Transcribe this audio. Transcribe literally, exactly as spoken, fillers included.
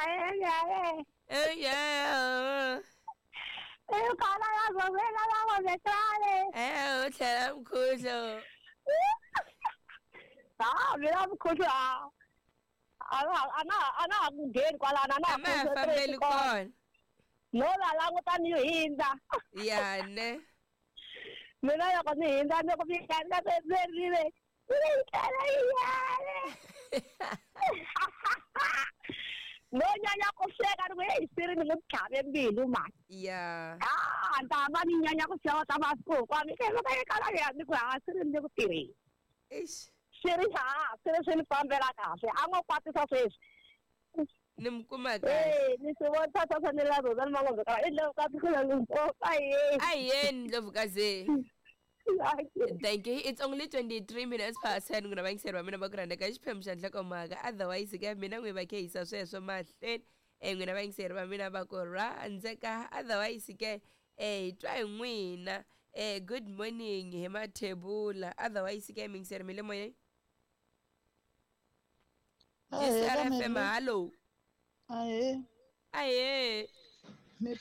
Ae, Eh, eh, kala ya zovela la ngombehlale. Eh, u tlhela mkhuhlo. Ah, mina mkhuhlo a. Ana ana ana ku ngheni kwalana na A ma ha fambeli kona. No la languta ni hindza. Ya ne. Mina loko ni hindza ni ku fika na rile. Ri yale. No nyanya ku hleka ni ku hey siri ni n'wi tlhave mbilu mani. Ya. Ah, ta va ni nyanya ku xeweta masiku kwa mi ke ka kala ya ni ku ha siri ni ku tirheni. Eish. Swi ri ha swi ri swi ni fambela kahle a ngo kwatisa sweswi. Ni mi kuma kahle. Eh, ni swi vona swa ni la rona ni mangombe ka i Ndlovukazi Limpopo aye. Ahee Ndlovukazi. Thank you. It's only twenty-three minutes past ten n'wina vayingiseri va mina va ku rhandza ka xiphemu xa nhlokomhaka. Otherwise ke mina n'wi va khehisa sweswo mahlweni. Eh n'wina vayingiseri va mina va ku rhandzeka. Otherwise ke eh hi twa hi n'wina. Eh good morning hi Mathebula. Otherwise ke miyingiseri mi le moyeni. Ahee G C R F M Melo. hello. Ahee. Ahee.